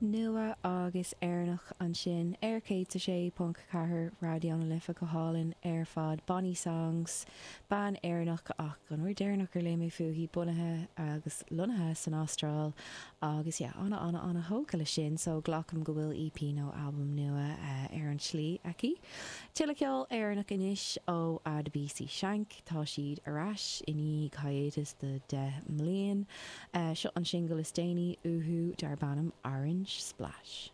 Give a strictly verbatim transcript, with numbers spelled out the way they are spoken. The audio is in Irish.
Nua agus Éireannach ansin ar céad a sé ponc ceathair Raidió na Life go hálainn ar fad Bonnie Songs bean Éireannach ach an uair dheireanach ar léigh mé fúithi bunaithe agus lonnaithe san Astráil agus yeah, ana ana ana thógtha le sin so glacaim go bhfuil EP nó albam nua uh, ar an slí aici. Tuilleadh ceol Éireannach anois ó Adebisi Shank tá siad ar ais i ndiaidh hiatus de deich mbliana. Uh, seo an singil is déanaí uathu darb ainm Orange Splash.